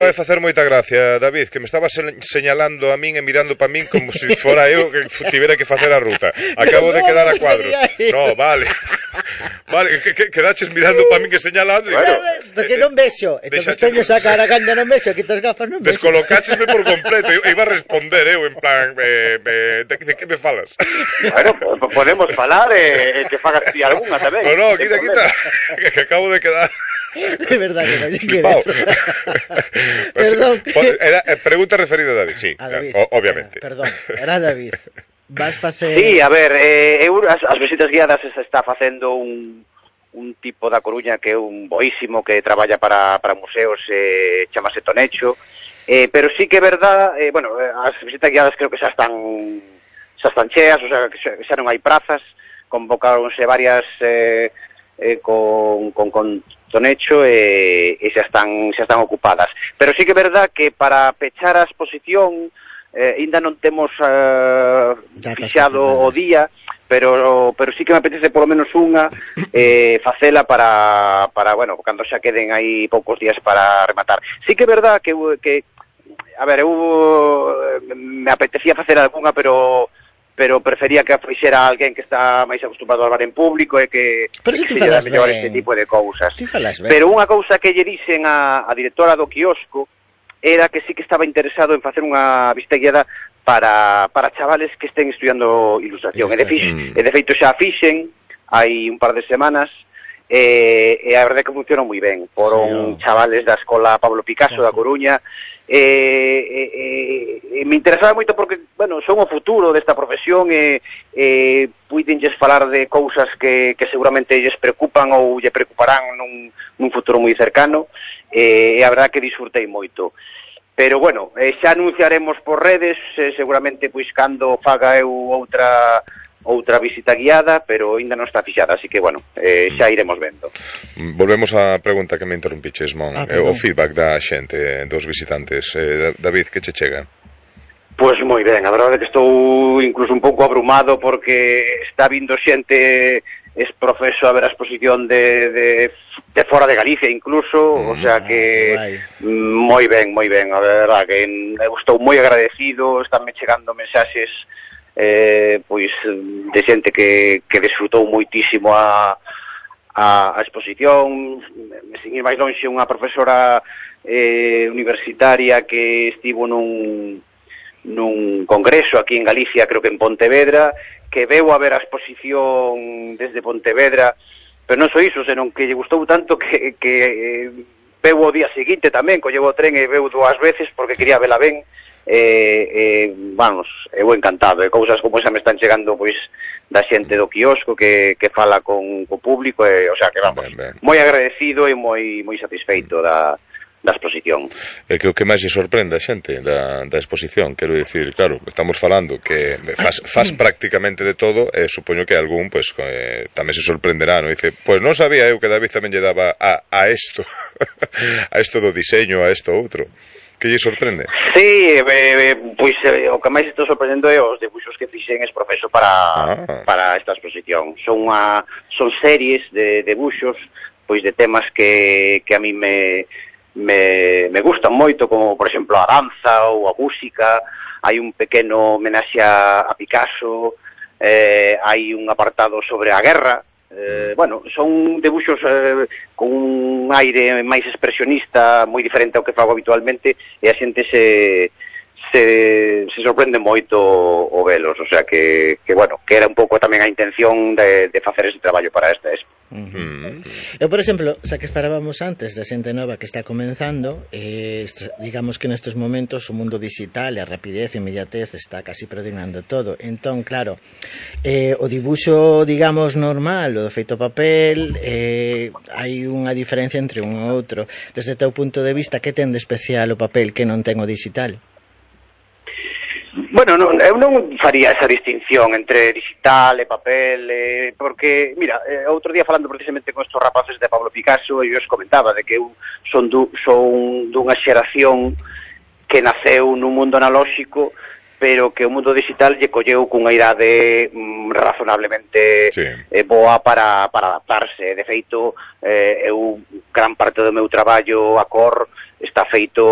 Vai facer moita gracia, David, que me estaba señalando a min e mirando para min como se fora eu que tivera que facer a ruta. Acabo de quedar a cuadros. No, vale. Vale, quedaches mirando para min que señalando. Que non vexo. Entón teño esa cara cando non vexo, que tos gafas non vexo. Descolocáchesme por completo. Iba a responder eu en plan, de que me falas? Bueno, podemos falar e te fagas ti algunha tamén. No, quita. Que acabo de quedar... De verdade que non lle quero. Perdón. Era pregunta referida a David, sí, a David. Obviamente. Perdón, era David. Vas facer... Sí, a ver, as visitas guiadas se está facendo un tipo da Coruña que é un boísimo que traballa para museos, chamase Tonecho, pero sí que é verdad, bueno, as visitas guiadas creo que xa están cheas, o sea, que xa non hai prazas, convocaronse varias con Tonecho e xa están ocupadas. Pero sí que é verdad que para pechar a exposición ainda non temos fixado o día, pero sí que me apetece polo menos unha facela para bueno, cando xa queden aí poucos días para rematar. Sí que é verdad que a ver, me apetecía facer algunha, pero prefería que a fixera alguén que está máis acostumbrado a hablar en público e que fixera mellor este tipo de cousas. Pero unha cousa que lle dixen a directora do quiosco era que sí que estaba interesado en facer unha visita guiada para chavales que estén estudiando ilustración. E de feito xa fixen hai un par de semanas e a verdade que funcionou moi ben. Foron chavales da escola Pablo Picasso da Coruña. Me interesaba moito porque, bueno, son o futuro desta profesión e puidenlles falar de cousas que seguramente lles preocupan ou lle preocuparán nun futuro moi cercano, e a verdade que disfrutei moito. Pero, bueno, xa anunciaremos por redes, seguramente, pois, cando faga eu outra visita guiada, pero ainda non está fixada, así que, bueno, xa iremos vendo. Volvemos á pregunta que me interrompiches, Mon, o feedback da xente, dos visitantes. David, que che chega? Pois moi ben, a verdade é que estou incluso un pouco abrumado porque está vindo xente profeso a ver a exposición de fora de Galicia incluso, o sea que moi ben, a verdade que estou moi agradecido, estánme chegando mensaxes pois de xente que desfrutou moitísimo a exposición. Sin ir máis lonxe, unha profesora universitaria que estivo nun congreso aquí en Galicia, creo que en Pontevedra, que veu a ver a exposición desde Pontevedra, pero non só iso, senón que lle gustou tanto que veu o día seguinte tamén, colleu o tren e veu 2 veces porque quería vela ben. Vamos, eu encantado, cousas como esa me están chegando pois da xente do quiosco que fala con o público, o sea que vamos, moi agradecido e moi satisfeito da exposición. É que o que máis lle sorprende a xente da exposición, quero dicir, claro, estamos falando que faz prácticamente de todo, e supoño que algún pues, tamén se sorprenderá, non? Dice, pues non sabía eu que David tamén lle daba a isto a isto do diseño, a isto outro. Que lle sorprende? Sí, pois o que máis estou sorprendendo é os debuxos que fixen exprofeso para esta exposición. Son series de debuxos pois de temas que a mí me gustan moito, como por exemplo a danza ou a música. Hai un pequeno homenaxe a Picasso, hai un apartado sobre a guerra. Bueno, son debuxos con un aire máis expresionista, moi diferente ao que fago habitualmente, e a xente se sorprende moito o velos, o sea que bueno, que era un pouco tamén a intención de facer ese traballo para esta expo. Eu, por exemplo, xa que falábamos antes da xente nova que está comenzando, digamos que nestes momentos o mundo digital e a rapidez e inmediatez está casi predominando todo. Entón, claro, o dibuxo, digamos, normal, o do feito papel, hai unha diferencia entre un e outro. Desde o teu punto de vista, que ten de especial o papel que non ten o digital? Bueno, eu non faría esa distinción entre digital e papel, porque, mira, outro día falando precisamente con estos rapaces de Pablo Picasso, eu os comentaba de que eu son dunha xeración que naceu nun mundo analóxico pero que o mundo digital lle colleu cunha idade razonablemente boa para adaptarse. De feito, eu gran parte do meu traballo a cor está feito